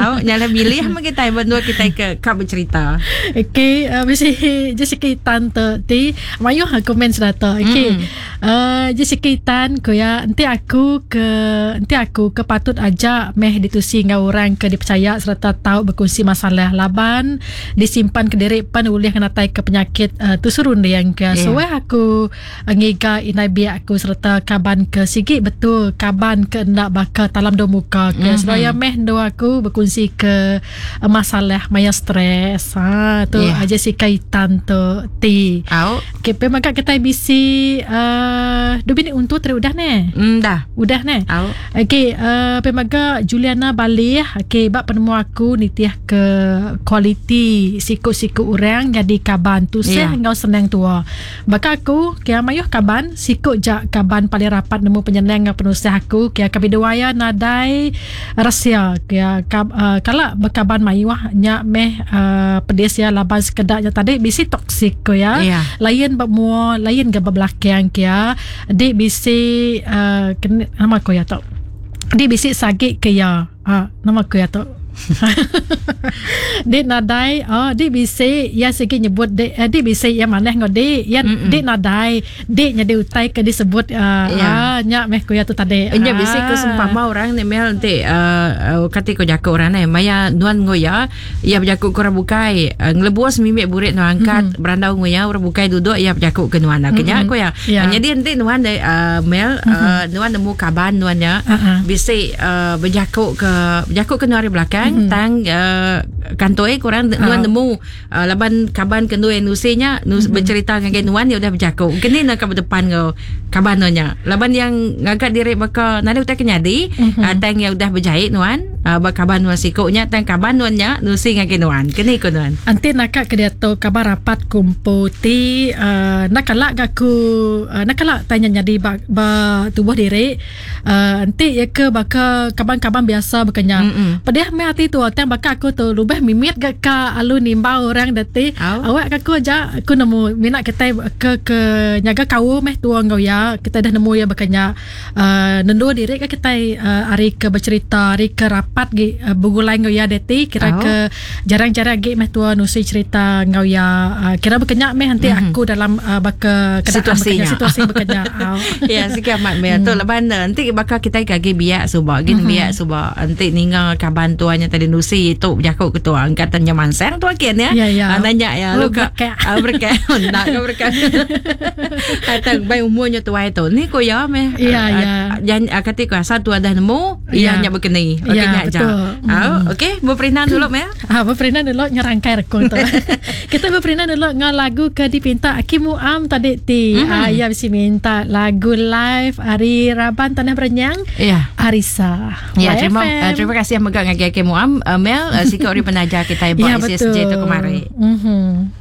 Au nya lah milih meh kitai ba endur kitai ke ka becerita. Okey uh, bisi Jessica Tan tu ti mayuh komen serata. Okey. Mm. Uh, Jessica Tan ku ya enti aku ke enti aku ke patut aja meh ditusi enggau orang ke dipercaya sereta tau bekunsi masalah laban disimpan kediri pan ulih ngenatai ke penyakit uh, tusu runding ke. Yeah. Suah aku Ngiga indai biak aku sereta kaban ke sigi betul kaban ke enda baka talam dua muka ke mm -hmm. seraya meh endu aku bekunsi ke masalah maya stres. Ha tu yeah. Jessica Itan tu ti. Au. Okay, pe mega kitai bisi uh, du bini untu tadi udah ne. Mm, dah. Udah ne. Au. Okay, uh, pe mega Juliana Balih, okay, ba penemu aku nitih ke kualiti siku-siku orang jadi kaban tusah yeah. enggau senang tua. Baka aku, kia mayuh kaban, siku ja kaban paling rapat nemu penyenang enggau penusah aku, kia kami duai iya nadai resia, kia kala bekaban mayuh nya meh pedis iya laban sekeda nya tadi bisi toksik ku iya. Lain ba mua, lain ga ba belakang kia, di bisi nama ku iya tu, di bisi sagi ke iya. Ha, nama ku iya tu? Dik nadai, oh dik bisi, iya sigi nyebut dik, eh, dik bisi iya manah enggau dik, iya dik nadai, dik nyadi utai ke disebut uh, yeah. ah, nya meh ku iya tu tadi. Nya bisi ku sempama orang ni mel enti uh, kati ku jaku orang ni maya nuan enggau iya, iya bejaku ke orang bukai, uh, ngelebus mimik burik nuan angkat mm-hmm. berandau enggau iya, orang bukai duduk iya bejaku ke nuan. Mm-hmm. Nya ku iya. Yeah. Nyadi enti nuan uh, mel mm-hmm. uh, nuan nemu kaban nuan nya uh-huh. bisi uh, bejaku ke bejaku ke nuan ari belakang mm-hmm. tang uh, kantoi kurang uh. nuan nemu uh, laban kaban ke nuan nusi nya nus, mm-hmm. bercerita ngagai nuan dia udah bejaku kini nak ke depan ngau kaban nuan nya laban yang ngaga diri baka nadai utai ke nyadi mm-hmm. uh, tang yang udah berjahit nuan uh, ba kaban nuan siku nya tang kaban nuan nya nusi ngagai nuan kini ko nuan anti naka ke diatu kaban rapat kumpu ti uh, nak kala ga ku uh, nak kala tanya nyadi ba, ba tubuh diri Uh, enti iya ke baka kaban-kaban biasa baka nya. Mm-mm. Pedih meh ati tu tang baka aku tu lubah mimit ga ka alu nimbau orang dati. Awak ka aku aja aku nemu mina kitai ke ke nyaga kaul meh tua enggau iya. Kitai dah nemu iya baka nya. Uh, nendu diri ka kitai uh, ari ke becerita ari ke rapat gi uh, begulai enggau iya dati kira Au. ke jarang-jarang agi meh tua nusi cerita enggau iya. Uh, kira baka nya meh enti mm-hmm. aku dalam uh, baka keadaan baka nya situasi baka nya. Ya sikit amat meh tu laban eh, enti baka kitai ke agi biak suba agi mm-hmm. biak suba enti ninga kaban tua nya tadi nusi tu bejaku ke tua angkatan nya mansang tua kin ya. Ya ya. Ah, nanya ya oh, lu ka ah, berkat nak ka berkat. Atau bai umur nya tuai tu ni ko ya meh. Ya ah, ya. Jan kati ko asal tua dah nemu ya nya bekeni. Okey nya ja. Mm. Okey beperindang dulu meh. Ah, beperindang dulu nyerangkai rekung tu. Kita beperindang dulu ngau lagu ke dipinta Aki Muam tadi ti. Mm-hmm. Ah, iya bisi minta lagu live ari Raban Tanah Berenyang. Ya. Arisa. Ya, terima uh, terima kasih mega ngagai Aki Muam. Uh, Mel, uh, siku ari penaja kita ba Ya, SSJ tu betul. kemari. Mhm.